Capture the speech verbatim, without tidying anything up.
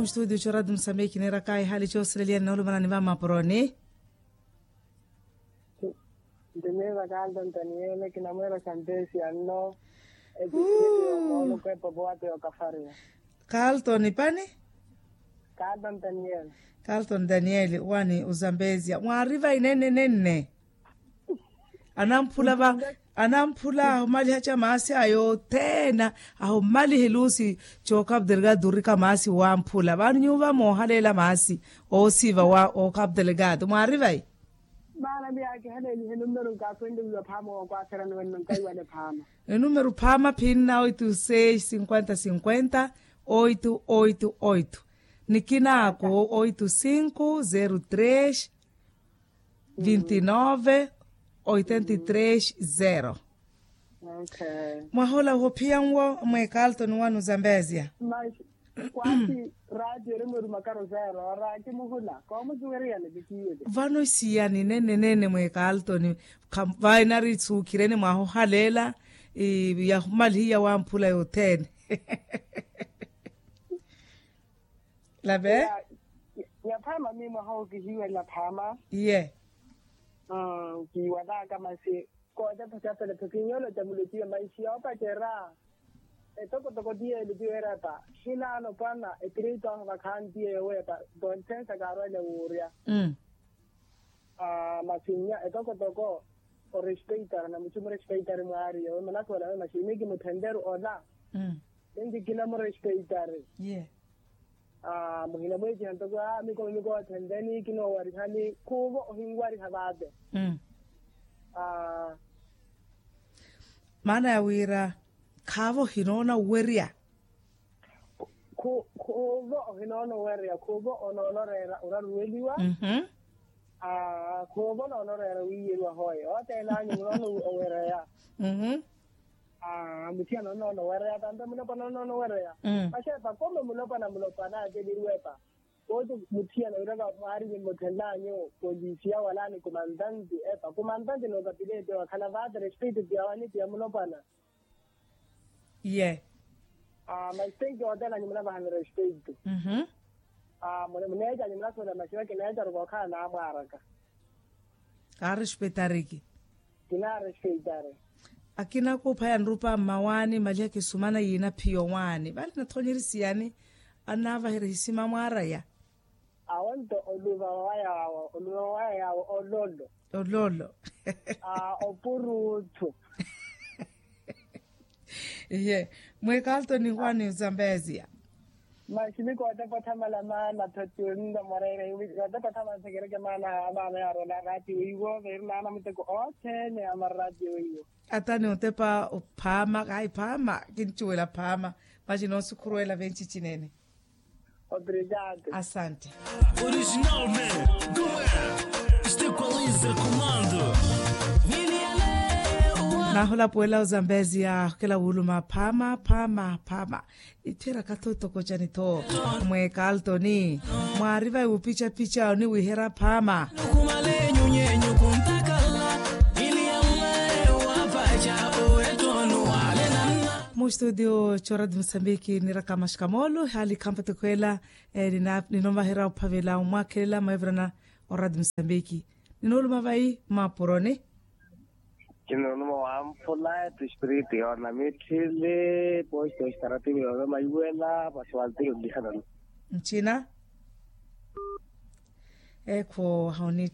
Mustudio choratu musambiki neeraka ehali choosileliya nnoolumana ni vamapuroni. Nti miiva kalto ntaniele kinamweera santesi anno. Episilio moolukwepo powato yookafariwa. Kalto ni pani? Kalto ntaniele. Kalto ntaniele wani uzambezia mwariva inene nene. Anamphula va anamphula ahumaliha ca maasi ayo othene. Ahumaliha eluusi. Cookaputeliga durika maasi wamphula vano nyuva moohaleela maasi. Oosiiva wa ookaputeliga tu mwaari vai? Maana miyakihelelihe numero nkaakwendeliwa phaama wookwaaserani wenno nkaiwale phaama. Enumero phaama phinna oito seis cinquenta cinquenta oito oito oito. Nikinaako oito cinco zero tres vintinove oitenta e tres zero. Mwahola ohophiya nwo mwekalto ni wanu zambezia. Kwati ratio eri mwerumakaro zero ora kimuhula koomusuweriyani vikiwele. Vano isiyani nene nene mwekalto ni vainari suukhirene mwahohaleela yahumalihiya wamphula yothene. Lave. Yaphaama mii mwaha okihiwela phaama. Iye. Kiiwalaka masi kootepa capelephe kinyolo ca mulotiwe maixiya opacera. Etokotoko tiye elitiwe erata hinaano pwana ekirito ahu vakhantiye yowepa. Tonsensa kaarwele wuurya. Masi nnya etokotoko orespeitara na muchu murespeitari mwaariye we munakhola we masi imi kimuthenteru ola. Ninki kinamurespeitari. Muhina mweeciha ntoko a mikomi mikoothenteni kinoowarihani khuuvo ohinwariha vaate. Maana ya wira khaavo ohinoona owerya. Khuuvo ohinoona owerya khuuvo onoona oreera oraruweliwa. Khuuvo onoona oreera wiiyeriwa hooye othene anyu munoona owereya. Muthiyana onoona owereya tampe mulopwana onoona owereya. Maxepa kome mulopwana mulopwana akeleriwepa. Koti muthiyana wiraka mwaari nimuthenlanyu polisiya wala ni kumantanti epa kumantanti nookapileti wakhala vaate respeito tiya wani tiya mulopwana. Iye. Masi tenki otelanyu munavahani respeito. Muneecanyu munasuwela masi vakineecaru kookhala naamwaaraka. Kaarespetariki. Kinarespeitari. Akina kuupha yanrupa mmawaani maliha kisumana yiina phiyo waani vale nathonyerisiyaani. Annaavaherya hisima mwaaraya. Awo nto oluva waya awo oluva waya awo ololo. Ololo. Opuruuthu. Iye. Mwekalto ni wani zambezia. Maximi kootepothamala maana thotio nno mwareere kotepothamala thekereke maana a maana yaarola ratio iwo veeri naana muteko othene a marratio iwo. Ata ni otepa ophaama kahi phaama kincuwela phaama. Maxi noosukhurwela venci cinene. Obrigado. Asante. Originalmente do este qualiza comando. Nahulapuwela ozambezia khukela wuluma phaama phaama phaama. Itthiraka tho tokocani tho. Mwekaltoni mwaari vai wupicapica oniwiherya phaama. Mustudio cooradi musambiki niraka maxikamoolo hali khampatekhwela. Ninovaherya ophavela omwakhelela mwevirana oradi musambiki. Ninooluma vai mapuroni. Kinooluma wamphula etispiriti yoona mitthili posto estarativi yoona maiwela pasiwaltiri olihanana. Ncina. Ekho hauni.